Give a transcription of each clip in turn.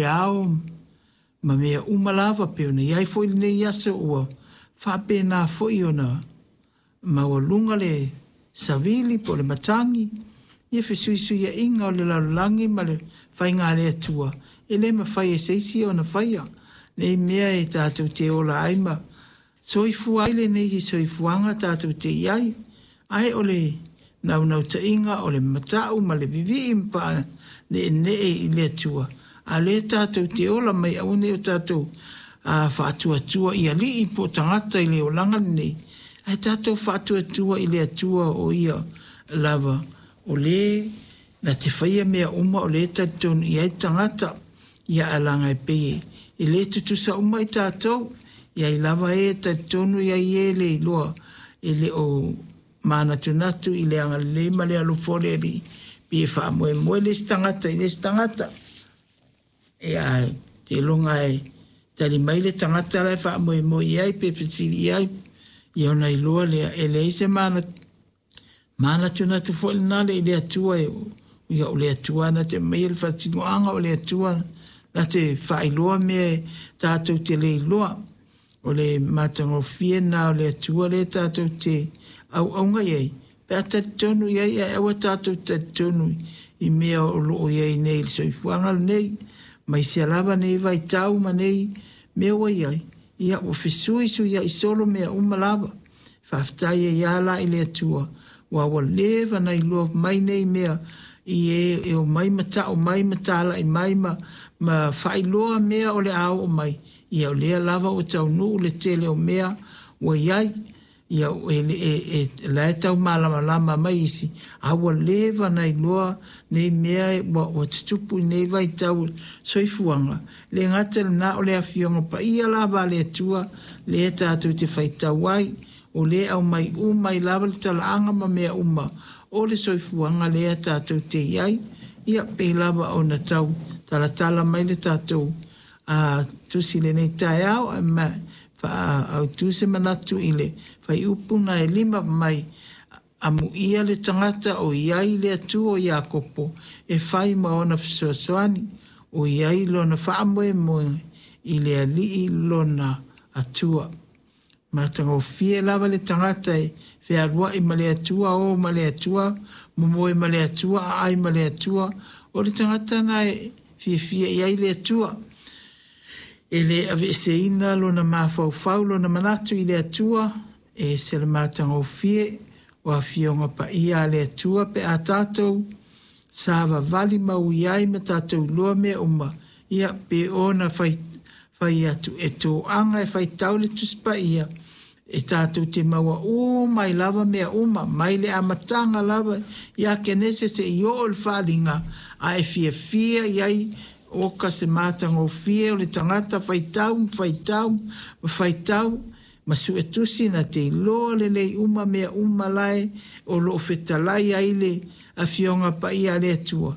le ao ma mea uma lava pei ona i ai foi lenei aso ua faapena foi ona maualuga le savili po o le matagi, ia fesuisuiaiga o le lalolagi ma le faiga a le Atua, e le mafai e se isi ona faia nei mea e tatou te ola ai ma soifua ai lenei soifuaga tatou te i ai. Ae o le naunautaiga o le matau ma le vivii ma paaneenee i le Atua, a o lea tatou te ola mai, aua ne i o tatou faatuatua i alii po o tagata i le olaga lenei, ae tatou faatuatua i le Atua o Ia lava o le na te faia mea uma, o le e talitonu i ai le tagata. Ia ae leaga e pei e le tutusa uma i tatou, e i ai lava e e talitonu, e i ai e le iloa, e le o manatunatu i le agalelei ma le alofa o le Alii, pei e faamoemoe le isi tagata i le isi tagata. Ia ae seiloga e tali mai le tagata la e faamoemoe i ai pe fesili i ai, ia ona iloa lea e leai se manatunatu foi lena i le Atua, ia o le Atua na te aumaia le faatinoaga, o le Atua na te faailoa mea tatou te le iloa. O le matagofie lena o le Atua lea tatou te auauna i ai, pe a talitonu i ai, ae aua tatou te talitonu i mea o lo o i ai nei i le soifuaga lenei, aemaise lava nei vaitau ma nei mea ua i ai, ia ua fesuisuiai solo mea uma lava. Faafetai ai lava la i le Atua, aua ua leva ona iloa mai nei mea i e e omai ma tau mai ma talai mai ma faailoa mea o le a oo mai, ia o lea lava ua taunuu le tele o mea ua i ai. Ia e, e, e, la e tau malamalama mai isi, a ua leva ona iloa nei mea ua tutupu i nei vaitau soifuaga. Le gata i lena, o le Afioga Paia lava a le Atua lea tatou te faitau ai, o lea e aumai uma ai lava le talaaga ma mea uma o le soifuaga lea tatou te i ai. Ia pei lava ona tau talatala mai le tatou tusi i lenei taeao, ae faaautu se manatu i le fuaiupu na e 5 mai, amuia le tagata o i ai le Atua o Iakopo e fai ma ona fesoasoani, o i ai lona faamoemoe i le Alii lona Atua. Matagofie lava le tagata e fealuai ma le Atua, o ma le Atua, momoe ma le Atua, aai ma le Atua. O le tagata na e fiafia i ai le Atua. E le aveeseina lona mafaufau, lona manatu i le Atua, e ese le matagofie o afioga paia a le Atua pe a tatou savavali maui ai ma tatou iloa mea uma, ia pe ona fai fai atu e toaga e faitau le Tusi Paia, e tatou te maua uma ai lava mea uma, mai le amataga lava ia Kenese seia oo i le Faaaliga, a e fiafia i ai oka se matagofie o le tagata faitau ma faitau ma faitau ma suetusi na te iloa lelei uma mea uma lae o lo o fetalai ai le Afioga Paia a le Atua.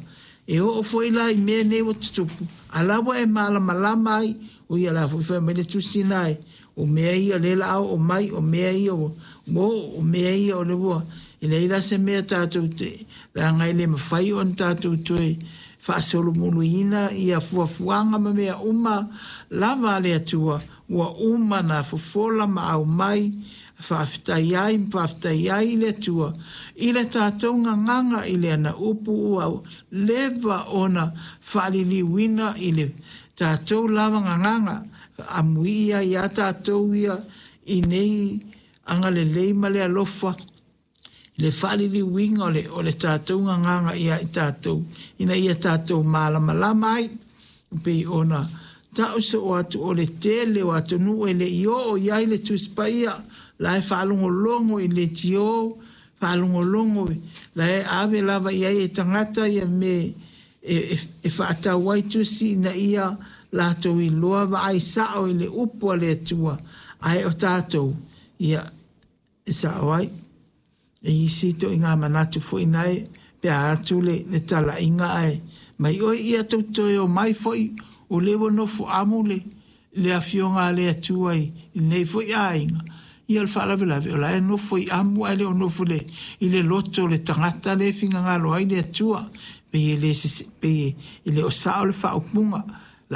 E oo foi la i mea nei ua tutupu, a la ua e malamalama ai, o ia la foi fai mai le tusi na e, o mea ia o lea la a oo mai, o mea ia ua oo, o mea ia o lea ua, e leai la se mea tatou te, leaga e le mafai ona tatou toe faasolomuluina ia fuafuaga ma mea uma lava a le Atua, ua uma ona fofola ma aumai, faafetai ai ma faafetai ai i le Atua i le tatou gagaga i le ana upu ua leva ona faaliliuina i le tatou lava gagaga, amuia ai a tatou ia i nei agalelei ma le alofa i le faaliliuina o le tatou gagaga ia i tatou, ina ia tatou malamalama ai, pei ona tau soo atu o le tele o atunuu e le i oo i ai le Tusi Paia, la e faalogologo i leitio, faalogologo la e ave lava i ai e tagata ia me e faatau ai tusi ina ia latou iloa vaai sao i le upu a le Atua, ae o tatou ia e sao ai. E isi ituaiga manatu foi nae pe a atu le talaiga ae mai oi ia tou toe omai foi o lea ua nofo amu le afioga a le Atua i lenei foi aiga. Ia o le faalavelave o la e nofo i amu ae le o nofo i le loto o le tagata lea e finagalo ai le Atua. Pei e le o sao le faaupuga.